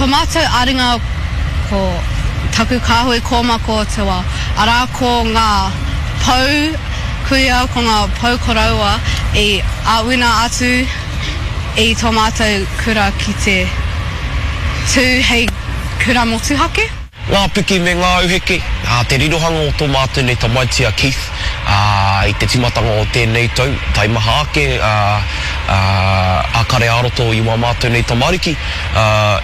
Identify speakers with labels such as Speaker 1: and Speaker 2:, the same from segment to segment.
Speaker 1: Tō mātou āringa ko taku kāhui kōmako te wā, arā ko ngā pou kuia, ko ngā pou koroua i āwina atu i tō mātou kura ki te tū hei kura motuhake.
Speaker 2: Ngā piki me ngā auheke, ā, te rirohanga o tō mātou nei tamaiti a Keith, ā, i te tīmatanga o tēnei tau, taimaha ake, ā, ā, a kare ā-roto i wā mātou nei tamariki, ā,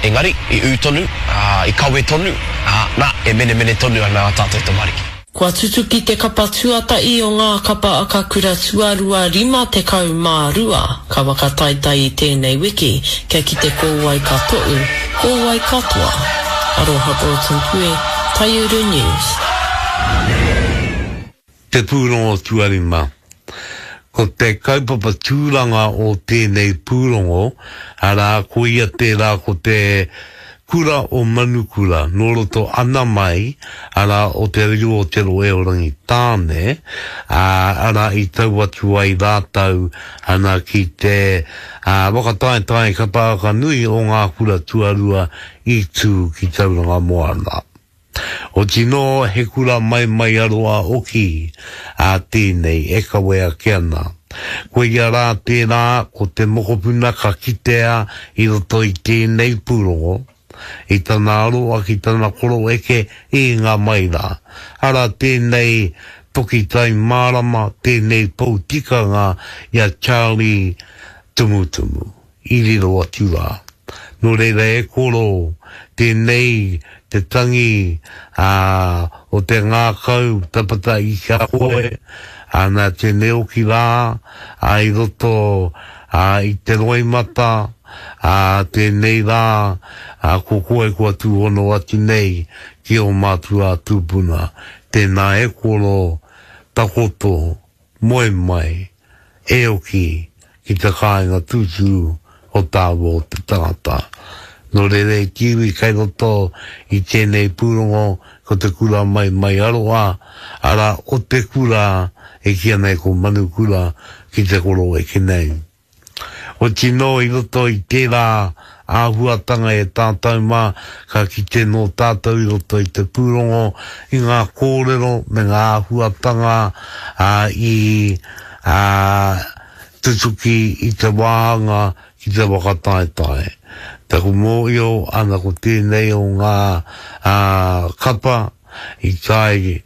Speaker 2: engari, i ū tonu, ā, i kawe tonu, ā, nā, e menemene tonu ana ā tātou tamariki.
Speaker 3: Kua tutuki te kapa tuatahi o ngā kapa akakura tuarua 52 ka whakataetae i tēnei wiki kia kite ko wai ka toʻu, ko wai ka toa. Aroha Broughton Pue, Taiuru News.
Speaker 4: Te pūrongo tuarima. Ko te kaupapa tūranga o tēnei pūrongo, arā, ko ia tērā ko te Kura o Manukura nō roto ana mai, arā, o Te Riu o Te Rohe o Rangitāne, ā, arā, i tau atu ai rātou ana ki te whakataetae kapa haka nui o ngā kura tuarua i tū ki Tauranga Moana. Otinō he kura maimaiaroa hoki a tēnei e kawe ake ana. Koia rā tērā ko te mokopuna ka kitea i roto i tēnei pūrongo, i tana aroa ki tana koroeke i ngā mai rā. Arā tēnei toki tai mārama, tēnei pou tikanga i a Charlie Tumutumu. i riro atu rā. Nō reira e koro, tēnei te tangi ā, o te ngākau tapata i ki a koe, ana tēnei oki rā, ā, i roto, ā, i te roimata, ā, tēnei rā, ā, ko koe kua tūhono atu nei ki ō mātua tūpuna. Tēnā e koro, takoto, moe mai, e oki ki te kāinga tūturu o tāua o te tangata. Nō reira e te iwi kai roto i tēnei pūrongo ko te kura mai mai aroha, arā o te kura e kīia nei ko Manukura ki te koroeke nei. Oti nō i roto i tērā āhuatanga e tātou mā, ka kite nō tātou i roto i te pūrongo i ngā kōrero me ngā āhuatanga i tutuki i te wāhanga ki te whakataetae. Taku mōhio ana ko tēnei o ngā kapa i tae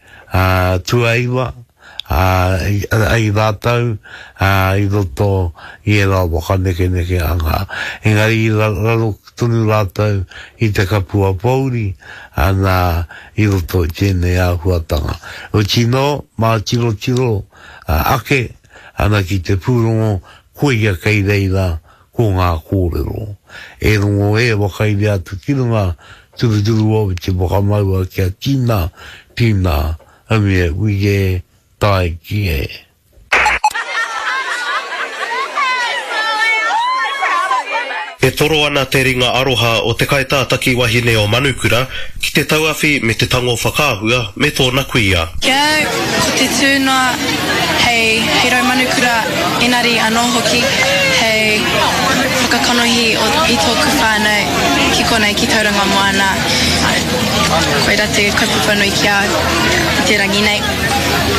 Speaker 4: tuaiwa, ā, i rātou, ā, i roto i ērā whakanekenekeanga. Engari i raro tonu rātou i te kapua pōuri, ana, i roto i tēnei āhuatanga. Otinō, mā tirotiro ake ana ki te pūrongo, koia kei reira ko ngā kōrero. E rongo e whakairia atu ki runga, turuturu au i te whakamaua kia tina, tina, Haumia ui e, tae ki e.
Speaker 5: E toro ana te ringa aroha o te kaitātaki wahine o Manukura ki te tauawhi me te tango whakaahua me tōna kuia.
Speaker 1: Ki a au, ko te tū noa hei hei rau manukura engari anō hoki hei whakakanohi i tōku whānau ki konei ki Tauranga Moana. Koira te kaupapa nui ki a au i te rangi nei.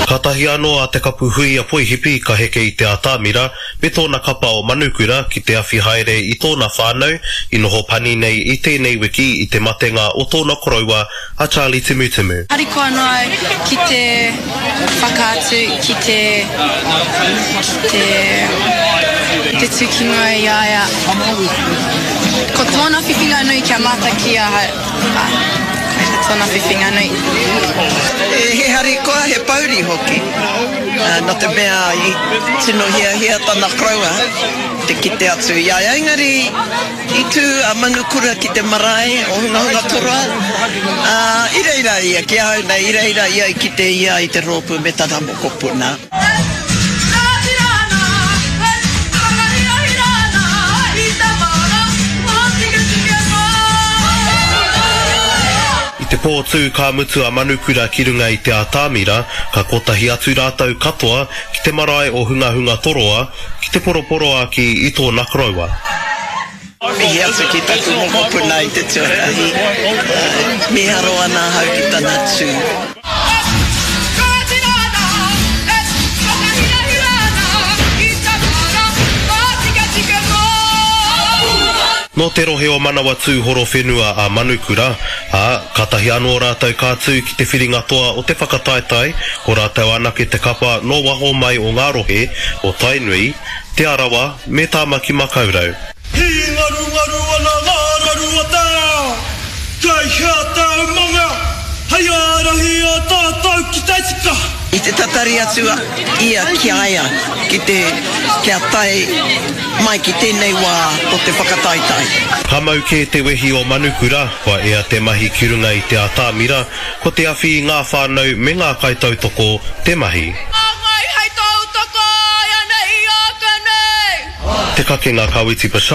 Speaker 5: Kātahi anō a Te Kapu Huia Poihipi ka heke i te atamira me tōna kapa o Manukura ki te awhi haere i tōna whānau i noho pani nei i tēnei wiki i te matenga o tōna koroua a Charlie Timutimu.
Speaker 1: Harikoa noa au ki te whakaatu, ki te, ki te, te tū ki mua i a ia. Ko tōna whiwhinga nui kia mātaki ki ahau. Ā, koira tōna whiwhinga nui.
Speaker 6: He harikoa, he pouri hoki, nō te mea i tino hiahia tana koroua te kite atu i a ia. Engari i tū a Manukura ki te marae o Hungahungatoroa, ā, i reira ia, ki ahau nei, i reira ia i kite ia i te rōpū me tana mokopuna.
Speaker 5: I te pō tū ka mutu a Manukura ki runga i te atamira, ka kotahi atu rātou katoa ki te marae o Hungahungatoroa ki te poroporoāki i tōna koroua.
Speaker 6: Mihi atu ki taku mokopuna i te tuatahi, miharo ana ahau ki tana tū.
Speaker 5: Nō te rohe o Manawatū Horowhenua a Manukura, ā, kātahi anō rātou ka tū ki te whiringa toa o te whakataetae, ko rātou anake te kapa nō waho mai o ngā rohe o Tainui, Te Arawa me Tāmaki Makaurau.
Speaker 7: Hīngarungaru ana ngā raru o te ao, Kei hea te umanga hei ārahi i a tātou ki te tika?
Speaker 6: I te tatari atu ia ki a ia ki te kia tae mai ki tēnei wā o te whakataetae.
Speaker 5: Ka mau kē te wehi o Manukura, kua ea te mahi ki runga i te atamira, ko te awhi i ngā whānau me ngā kaitautoko te mahi.
Speaker 8: Hāngai hei tautoko āianei i āke nei.
Speaker 5: Te Kakenga Kawiti Bashar.